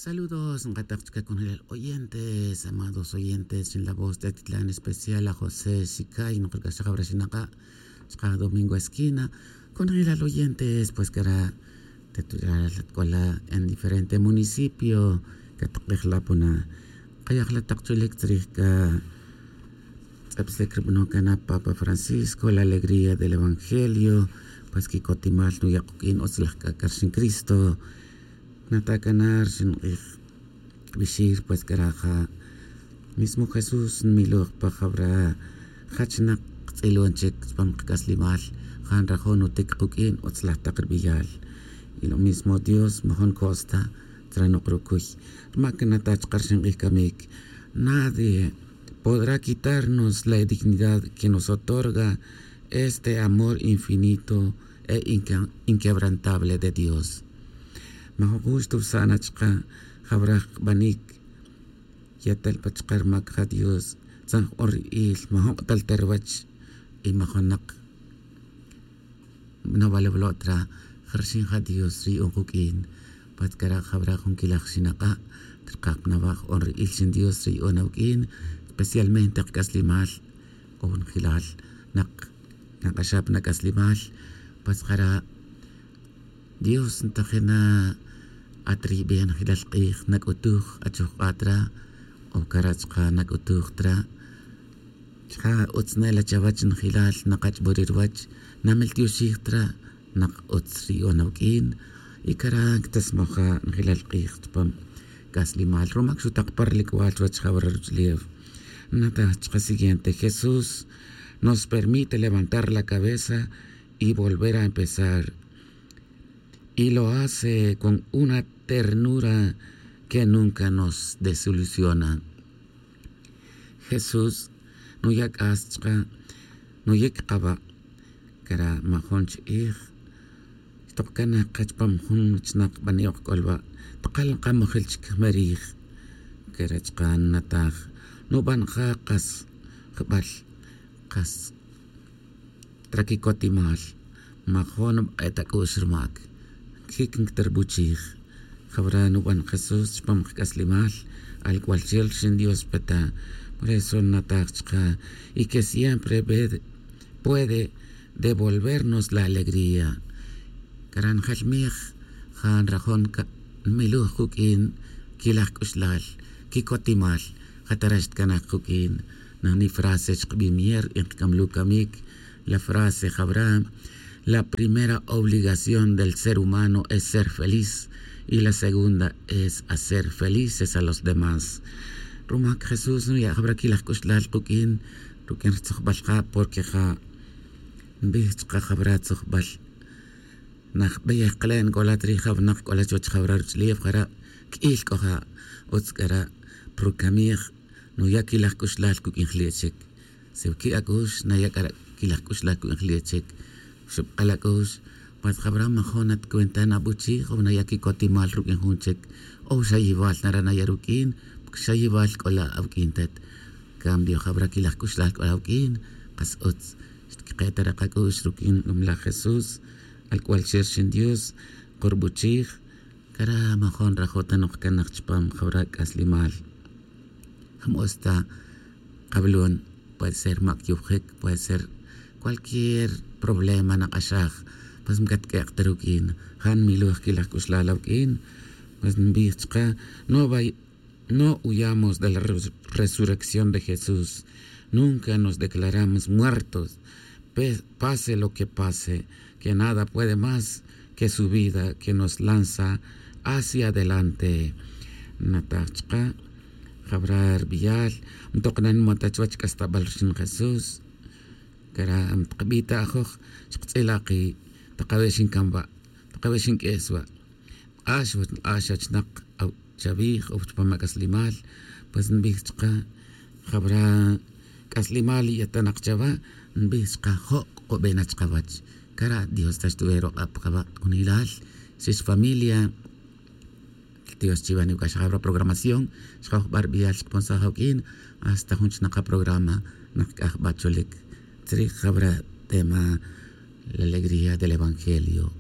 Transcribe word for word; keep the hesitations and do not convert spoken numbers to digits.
Saludos nkatak chica conjelal oyentes, amados oyentes en la voz de titlan especial a josé xicay nokorc'axaj awra xinaka', chaka' domingo esquina. Conjelal oyentes, pues cara' tetural atk'ola' en diferente municipio. Katak'ejla' puna kayajla' tak chulik tzrij ka tz'epsik rib'anon kana' papa francisco la alegría del evangelio. Pues kikotimal nuya' quk'in utz laj k'ak'ar xin cristo. Nata' kana' rxin q'ij bixir pues karaja' mismo jesús nmiloj pa jawra jachnak qtz'ilon chik chpam qak'aslimal. Ja' nrajo' nutik quk'in utz laj taq rb'iyal. Y lo mismo dios majon kosta tzra noq rukuy. Rma' kanata' chqa rxin q'ij kamik nadie podrá quitarnos la dignidad que nos otorga este amor infinito e inquebrantable de dios. Majun jun xtuwsa'na chqa jawraj qbanik yatal pa chqa rmak ja dios. Tzan jq'on ri'il majun q'atal ta rwach y majunak nawalawlo' tra. Jarxin ja dios ri yu'un quk'in. Pat kara' jawra jun kilaj xinaq'a' trqaj pa nawa' jq'on ri'il xin dios ri yu'un awuk'in. Especialmente qak'aslimal o njilal naq naq'axaj pa nak'aslimal. Pat jara' dios ntajina' at ri yib'ej njilal q'ij nak'utuj achojq'a' tra o kara' chqa' nak'utuj tra. Chja' utz nela chawach njilal naqach'b'uri' ruwach namiltioxij tra. Naq utz ri yu'un awuk'in y kara' ktasmaja' njilal q'ij chpam k'aslimal ruma kxutaq pa rilik'wal chuwach jawra ruch'ulew. Nataj chqa siguiente jesús nos permite levantar la cabeza y volver a empezar. Y lo hace con una ternura que nunca nos desilusiona. Jesús nuya' k'as chqa nuyic kaba' kara' majun ch'ij. Xtok kan naj kach pam jun chnak bani' ok k'olwa' tkal kamujil chik jmerij. Kara' chqa nataj nuban ja kas jbal kas tra kikotimal. Majun bk'et ak'u'x rmak kik nkterbuchij. Jawra nuban jesús chpam qk'aslimal. Alk'wal chel rxin dios peta por eso nataj chqa y que siempre puede devolvernos la alegría. Kara' njelmij ja nrajon nmiluj kuk'in kilaj k'uxlal kikotimal. Ja tarax tkanaj kuk'in najni frase chkbimier y nkkamlu kamik. La frase jawra la primera obligación del ser humano es ser feliz y la segunda es hacer felices a los demás. Rumak jesús nuya' jawra kilaj k'uxlal kuk'in ruk'in rtzojbal ja' porque ja' nbij chka jawra tzojbal. Najbeyej kle' nk'ola' trij jawnak k'ola' chuwach jawra ruch'ulew jara' k'il k'o ja' utz k'ara' pa rukamij nuya' kilaj k'uxlal kuk'in jli' chik. Si wiki' ak'ux naya' k'ara' kilaj k'uxlal kuk'in jli' chik. Xubk'al ak'ux mas jawra majun at cuenta nabuchij o naya' kikotimal ruk'in jun chik o xayibal nara' naya' ruk'in. Xayibal k'ola' awuk'in tet. Cambio jawra kilaj k'uxlal k'ola' awuk'in. Qas utz xtkike' ta re' kak'ux ruk'in lomlaj jesús. Alk'wal che rxin dios kurbuchij. Kara' majun rajo' ta noq kanaj chpam jawra k'aslimal. Jmos ta qablon puede ser mak' yubjik puede ser cualquier problema naq'axaj. Pues mkatk'ek' ta ruk'in ja' nmiloj kilaj k'uxlal awuk'in. Pues nbij chka no vay no huyamos de la resurrección de jesús. Nunca nos declaramos muertos. Pase lo que pase que nada puede más que su vida que nos lanza hacia adelante. Nataj chka jawra rbiyal ntoq nanmata chuwach k'astabal rxin jesús. Kara' tkbita' ajoj chktz'ila' ki' takawe' xinkan wa' takawe' xink'es wa'. Nk'ax wach nk'ax achnak chawij o chpam ak'aslimal. Pues nbij chka jawra k'aslimal yetanak chawa. Nbij chka jo' k'obe' na chkawach. Kara' dios ta xtuwe rok'ab kaba' kunilal. Xix familia dios chiwa niwuk'ax jawra programación. Xjaw jb'ar b'iyal xkponsaj awuk'in hasta jun chnaqa programa. Naq k'aj b'a chulik tzrij jawra tema la alegría del evangelio.